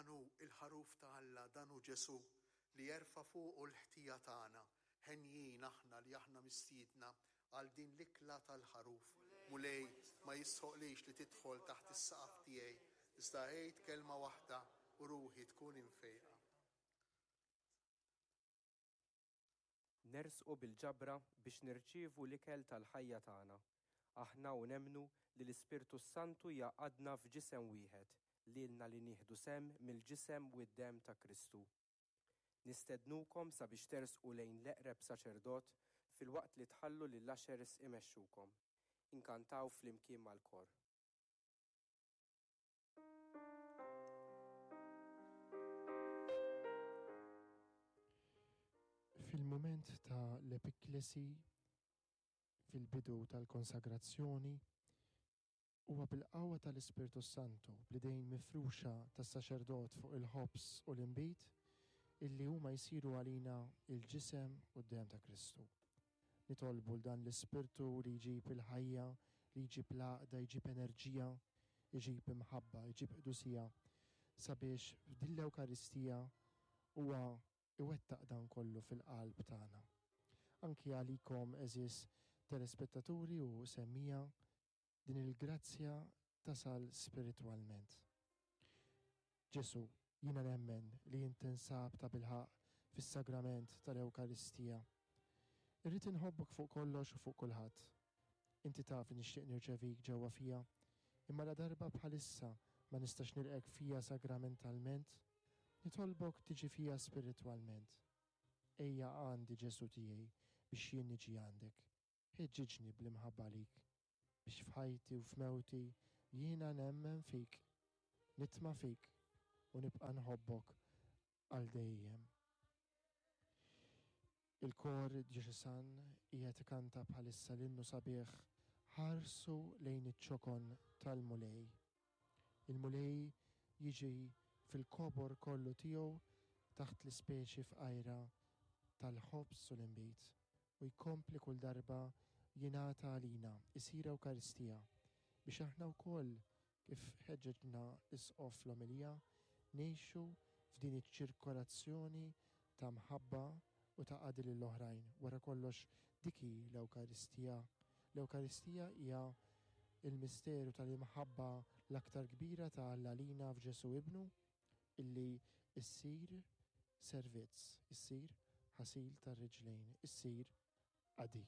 Dan hu l-Ħaruf ta' Alla, dan hu Ġesù, li jerfa' fuqu l-ħtija tagħna. Henjin aħna li aħna mistiedna għal din l-ikla tal-Ħaruf. Mulej, ma jistħoqlix li tidħol taħt is-saqaf tiegħi, iżda għid kelma waħda u ruħi tkun imfejqa. Nersqu bil-ġabra biex nirċievu l-ikel tal-ħajja tagħna, aħna u nemmnu li l-Ispirtu s-Santu jgħaqqadna f'ġisem wieħed, lilna li nieħdu sehem mill-ġisem u d-demm ta' Kristu. Nistednukom sabiex tersqu lejn l-eqreb saċerdot filwaqt li tħallu lill-ushers imexxukom. Inkantaw flimkien mal-kor. Fil-mument ta' l-epiklesi, fil-bidu tal-konsagrazzjoni, huwa bil-qawwa tal-Ispirtu s-Santu, bl-idejn mifruxa tas-saċerdot fuq il-ħobż u l-inbid, illi huma jsiru għalina l-ġisem u d-demm ta' Kristu. Nitolbu 'l dan l-Ispirtu li jġib il-ħajja, li jġib l-għaqda, jġib enerġija, iġib imħabba, iġib qdusija, sabiex f'din l-Ewkaristija huwa iwettaq dan kollu fil-qalb tagħna. Anki għalikom għeżież telespettaturi u semmiegħa, Din il-grazzja tasal spiritwalment. Ġesù, jiena nemmen li int tinsab tabilħaqq fis-sagrament tal-Ewkaristija. Irrid inħobbok fuq kollox u fuq kulħadd. Inti taf li nixtieq nirċevik ġewwa fija, imma ladarba bħalissa ma nistax nilqgħek fija sagramentalment, nitolbok tiġi fija spiritwalment. Ejja għandi Ġesù tiegħi biex jien niġi għandek. Ħeġġiġni bl-imħabba għalik, biex f'ħajti u f'mewti jiena nemmen fik, nitma' fik u nibqa' nħobbok għal dejjem. Il-Kor Djoċesan qiegħed ikanta bħalissa l-innu sabiħ Ħarsu lejn iċ-ċokon tal-Mulej. Il-Mulej jiġi fil-kobor kollu tiegħu taħt l-ispeċi fqajra tal-ħobż u l-inbid u jkompli kull darba jingħata għalina, isir Ewkaristija, biex aħna wkoll, kif ħeġġeġna l-Isqof fl-omelija, ngħixu f'din iċ-ċirkolazzjoni ta' mħabba u ta' qadi lill-oħrajn. Wara kollox dik hi l-Ewkaristija. L-Ewkaristija hija l-misteru tal-imħabba l-aktar kbira ta' Alla lina f'Ġesù Ibnu, illi ssir servizz, issir ħasil tar-riġlejn, issir qadi.